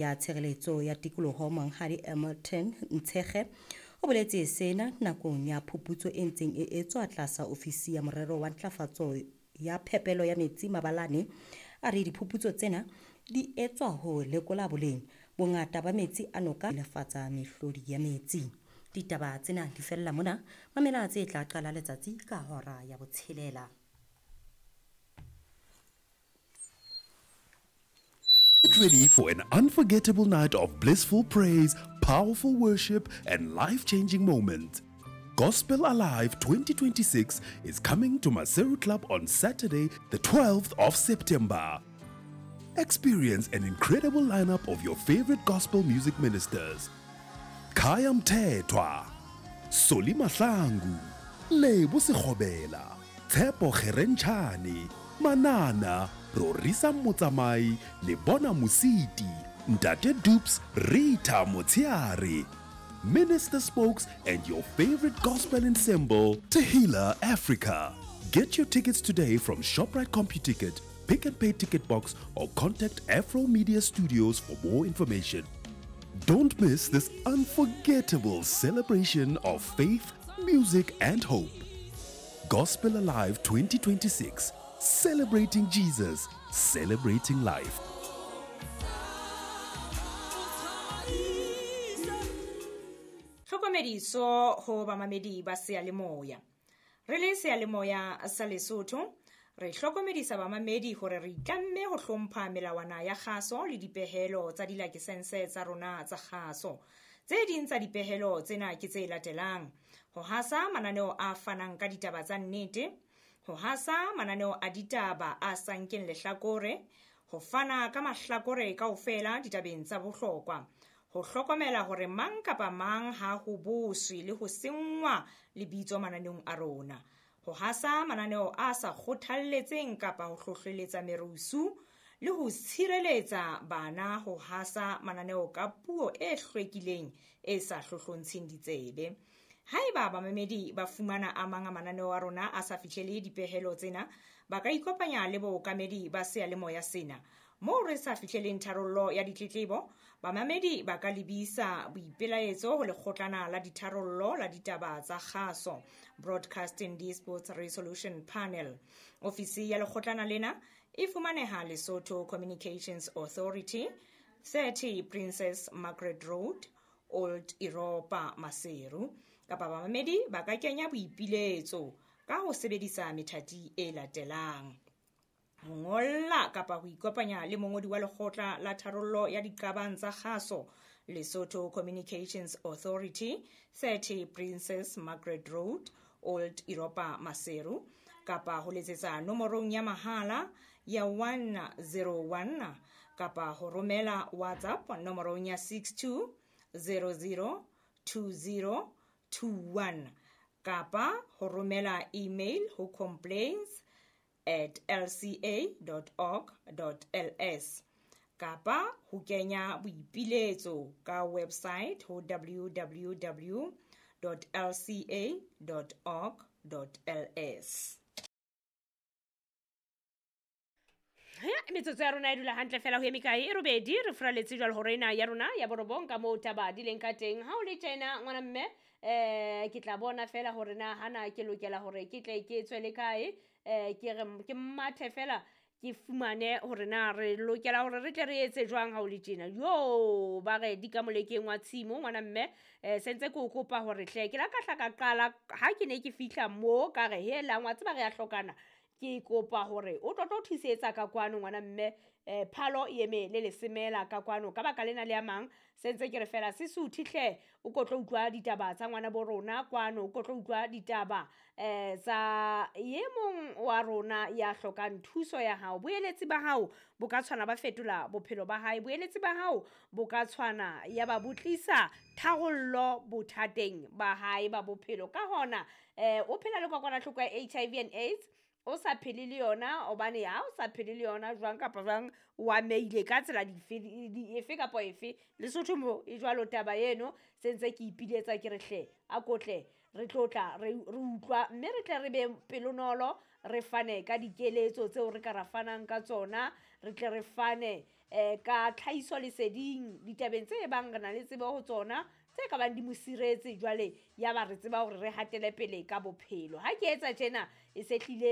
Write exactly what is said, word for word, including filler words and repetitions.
Ya Tshireletso ya Tikoloho Monghadi Emmerton Ntshekge o boletse sena nakong ya phuputso e ntseng e etswa tlasa ofisi ya Morero wa Ntlafatso ya Phepelo ya Metsi Mabalane. A re diphuputso tsena di etswa ho lekola boleng, bongata ba metsi a noka lefatsa mehlodi ya metsi. Ditaba tsena di fella mona, mamela tse tla qala letsatsi ka hora ya botshelela. Get ready for an unforgettable night of blissful praise, powerful worship, and life-changing moments. Gospel Alive twenty twenty-six is coming to Maseru Club on Saturday, the twelfth of September. Experience an incredible lineup of your favorite gospel music ministers. Khaya Mthethwa, Solly Mahlangu, Lebo Sekgobela, Tshepo Kgerentshane, Manana, Rorisa Motsamai, Lebona Mositi, Ntate Dupes, Rita Motsiare, Minister Spokes, and your favorite gospel ensemble, Tehila Africa. Get your tickets today from ShopRite CompuTicket, Pick and Pay Ticket Box, or contact Afro Media Studios for more information. Don't miss this unforgettable celebration of faith, music, and hope. Gospel Alive twenty twenty-six, celebrating Jesus, celebrating life. Tlhokomediso ho bamamedi ba seyalemoya. Re le seyalemoya sa Lesotho, re hlokomedisa bamamedi hore re itlamme ho hlompha melawana ya kgaso le dipehelo tsa dilakesense tsa rona tsa kgaso. Tse ding tsa dipehelo tsena ke tse latelang: ho hasa mananeo a fanang ka ditaba tsa nnete, ho hasa mananeo a ditaba a sa nkeng lehlakore, ho fana ka mahlakore kaofela ditabeng tsa bohlokwa, ho hlokomela hore mang kapa mang ha ho boswe le ho senngwa lebitso mananeong a rona, ho hasa mananeo a sa kgothalletseng kapa ho hlohleletsa merusu, le ho tshireletsa bana ho hasa mananeo ka puo e hlwekileng e sa hlohlontsheng ditsebe. Haeba bamamedi ba fumana a mang a mananeo a rona a sa fihlele dipehelo tsena, ba ka ikopanya le bookamedi ba seyalemoya sena. Moo re sa fihleleng tharollo ya ditletlebo, bamamedi ba ka lebisa boipelaetso ho lekgotlana la ditharollo la ditaba tsa kgaso, Broadcasting Disputes Resolution Panel. Ofisi ya lekgotlana lena e fumaneha Lesotho Communications Authority, thirty Princess Margaret Road, Old Europa, Maseru. Kapa bamamedi ba ka kenya boipiletso ka ho sebedisa methati e latelang: ho ngolla kapa ho ikopanya le mongodi wa lekgotla la tharollo ya diqabang tsa kgaso, Lesotho Communications Authority, thirty Princess Margaret Road, Old Europa, Maseru, kapa ho letsetsa nomorong ya mahala ya one zero one, kapa ho romela WhatsApp nomorong ya six two zero zero two zero two one, kapa ho romela email ho complaints at l c a dot org dot l s, kapa ho kenya boipiletso ka website ho w w w dot l c a dot org dot l s. Ya, metsotso ya rona e dula hantle fela ho eme kae e robedi re furaletse jwalo hore ena ya rona ya borobong ka moo taba di leng ka teng. Ha o le tjena ngwana mme, eh ke tla bona fela hore na hana ke lokela hore ke tle ke tswele kae, eh ke re ke mathe fela ke fumane hore na re lokela hore re tle re etse jwang ha o le tjena. Yo, ba re di ka molekeng wa tshimo ngwana mme, eh sentse ke o kopa hore hle ke la ka hla ka qala ha ke ne ke fihla mo ka re helang wa tseba re ya hlokana. Ke kopa hore o tlo tlo thusetsa ka kwano ngwana mme, eh phalo e eme le lesemela ka kwano ka baka lena le a mang sentse ke re fela se suthe hle o ko tlo utlwa ditaba tsa ngwana bo rona kwano, o ko tlo utlwa ditaba eh tsa ye mong wa rona ya hlokang thuso ya hao. Boeletsi ba hao bo ka tshwana ba fetola bophelo ba hae, boeletsi ba hao bo ka tshwana ya ba botlisa tharollo bothateng ba hae ba bophelo. Ka hona eh o phela le kokwanahloko ya H I V and AIDS, o sa phele le yona, hobane ha o sa phele le yona jwang kapa jwang o ameile ka tsela dife efe kapa efe. Lesotho mo e jwalo taba eno, sentse ke ipiletsa ke re hle a kotle re tlotla re utlwa mme re tle re be pelonolo, re fane ka dikeletso tseo re ka ra fanang ka tsona, re tle re fane eh ka tlhahiso leseding ditabeng tse bang re na le tsebo ho tsona tse ka bang di mo siretse jwale ya ba re tseba hore re hatele pele ka bophelo. Ha ke etsa tjena e se hlile.